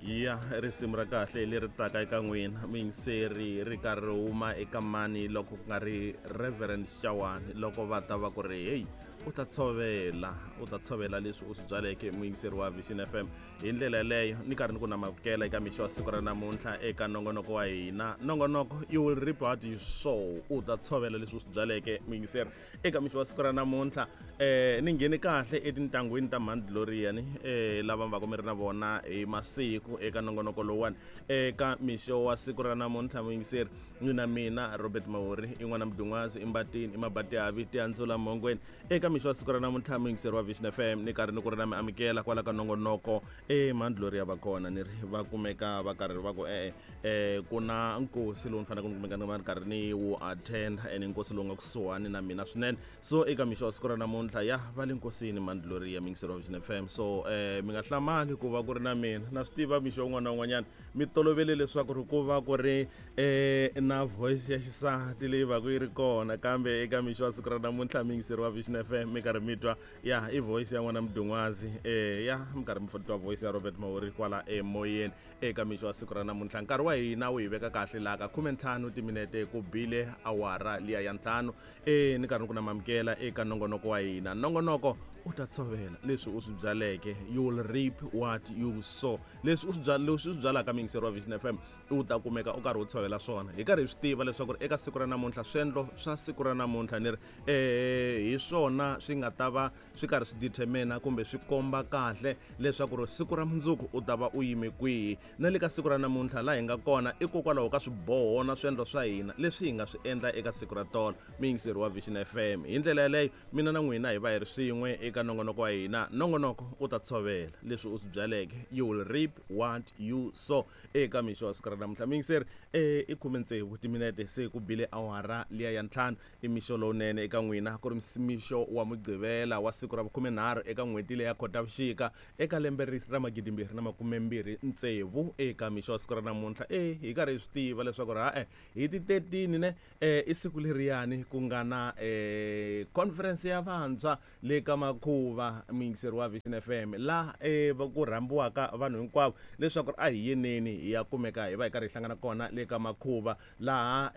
Ya risimu ra kahle leri taka eka n'wina muyingiseri ri karhi ri huma eka mani loko ku nga ri Reverend Xawani, loko va ta va ku ri heyi, u ta tshovela, u ta tshovela leswi u swi byaleke. Muyingiseri wa Vision FM, hi ndlela yeleyo ni karhi ni ku namukela eka mixo wa siku ra namuntlha eka nongonoko wa hina, nongonoko "You Will Reap What You Sow", u ta tshovela leswi u swi byaleke. Muyingiseri, eka mixo wa siku ra namuntlha ni nghene kahle etintangwini ta Mhani Gloria ni lava va mi ri na vona hi masiku eka nongonoko lowuwani. Eka mixo wa siku ra namuntlha, muyingiseri, ni mina Robert Mahori, i n'wana mudun'wazi, i mbatini, i mabatihavi tihandzula mhongweni. Eka mixo wa siku ra namuntlha, muyingiseri wa Vision FM, ni karhi ni ku ri na mi amukela kwala ka nongonoko. E Mhani Gloria va kona, ni ri va kumeka va karhi va ku e-e, ku na nkosi lowu ni faneleke ni kumeka ni va ni karhi ni wu attend, ene nkosi lowu nga kusuhani na mina swinene. So eka mixo wa siku ra namuntlha, ya va le nkosini Mhani Gloria, muyingiseri wa Vision FM. So mi nga hlamali ku va ku ri na mina. Na swi tiva mixo wun'wana na wun'wanyana mi tolovele leswaku ri ku va ku ri na voice ya xisati leyi va ku yi ri kona, kambe eka mixo wa siku ra namuntlha, muyingiseri wa Vision FM, mi karhi mi twa ya i voice ya n'wana mudun'wazi, ya mi karhi mi twa voice ya Robert Mahori kwala emoyeni. Eka mixo wa siku ra namuntlha, nkarhi wa hina wu hi veka kahle laha ka 15 timinete ku bile awara liya ya 5. Ni karhi ni ku namamukela eka nongonoko wa hina, nongonoko "U Ta Tshovela Leswi U Swi Byaleke", "You Will Reap What You Sow". Leswi u swi leswi u swi byalaka, muyingiseri wa Vision FM, u ta kumeka u karhi u tshovela swona. Hi karhi hi swi tiva leswaku ri eka siku ra namuntlha, swendlo swa siku ra namuntlha, ni ri hi swona swi nga ta va swi karhi swi determina kumbe swi komba kahle leswaku ri siku ra mundzuku u ta va u yime kwihi. Na le ka siku ra namuntlha laha hi nga kona ikokwalaho ka swiboho na swiendlo swa hina leswi hi nga swi endla eka siku ra tolo, muyingiseri wa Vision FM. Hi ndlela yaleyo mina na n'wina hi va hi ri swin'we eka nongonoko wa hina, nongonoko "U Ta Tshovela Leswi U Swi Byaleke", "You Will Reap What You Sow". Eka mixo wa siku ra namuntlha, muyingiseri, i 16 timinete se ku bile awara liya ya 5. I mixo lowunene eka n'wina, ku ri mixo wa Mugqivela wa siku ra vukhumenharhu eka n'hweti leya Khotavuxika eka lembe ri ra 2026. Eka mixo wa siku ra namuntlha, e hi karhi hi swi tiva leswaku ri ha-e hi ti 13 ne, i siku leriyani ku nga na conference ya vantshwa le ka Makhuva, muyingiseri wa Vision FM, laha ku rhambiwaka vanhu hinkwavo leswaku a hi yeneni hi ya kumeka hi va hi karhi hi hlangana kona le ka Makhuva, laha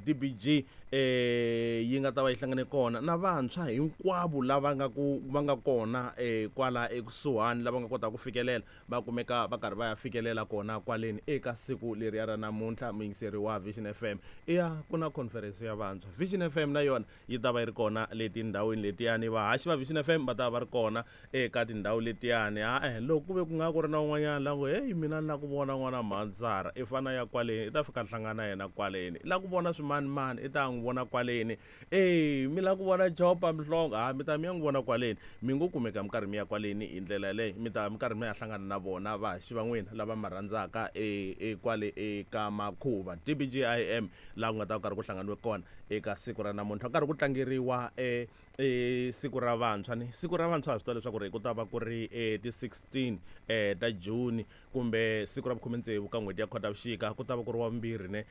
DBG yi nga ta va yi hlangane kona na vantshwa hinkwavo lava nga ku va nga kona kwala ekusuhani, lava nga kotaka ku fikelela, va kumeka va karhi va ya fikelela kona kwaleni eka siku leriya ra namuntlha. Muyingiseri wa Vision FM, iya ku na conference ya vantshwa, Vision FM na yona yi ta va yi ri kona le tindhawini letiyani. Vahaxi va Vision FM va ta va va ri kona eka tindhawu letiyani. Ha-e, loko ku ve ku nga ku ri na un'wanyana la ngo, "Heyi, mina ni la ku vona n'wana mhandzara," i fana ya kwaleni, i ta fika hlangana yena kwaleni. I la ku vona swimanimani, i ta n'wi vona kwaleni. E mi la ku vona Jopa Mhlongo, ha mi ta mi ya n'wi vona kwaleni. Mi ngo kumeka mi karhi mi ya kwaleni. Hi ndlela yaleyo mi ta mi karhi mi ya hlangana na vona vahaxi va n'wina lava ma rhandzaka e kwale eka Makhuva, DBGIM, laha ku nga ta ku karhi ku hlanganiwe kona eka siku ra namuntlha, ku karhi ku tlangeriwa e siku ra vantshwa. Ni siku ra vantshwa ha swi tiva leswaku ri ku ta va ku ri ti 16 ta June, kumbe siku ra vukhume-tsevu ka n'hweti ya Khotavuxika, ku ta va ku ri wa vumbirhi ne,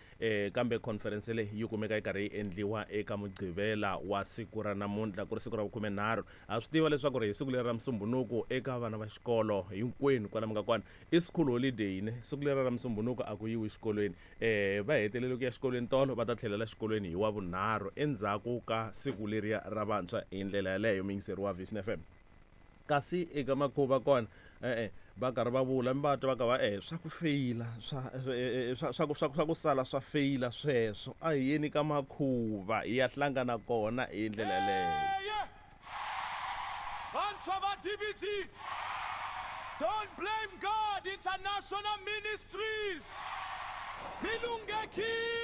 kambe conference leyi yi kumeka yi karhi yi endliwa eka Mugqivela wa siku ra namuntlha, ku ri siku ra vukhume-nharhu. Ha swi tiva leswaku ri hi siku leri ra Musumbhunuku, eka vana va xikolo hinkwenu kwala mi nga kona, i school holiday ne. Siku leri ra Musumbhunuku a ku yiwi xikolweni. Va hetelele ku ya xikolweni tolo, va ta tlhelela xikolweni hi wa vunharhu endzhaku ka siku leriya ra vantshwa. Hi ndlela yaleyo, muyingiseri wa Vision FM, kasi eka Makhuva kona, e-e, va karhi va vula, mi va twa va ka va swa ku feyila swa swa swa ku swa swa ku sala swa feyila sweswo, a hi yeni ka Makhuva hi ya hlangana kona. Hi ndlela yaleyo. Vantshwa va DBG, Don't Blame God International Ministries, mi lunghekile.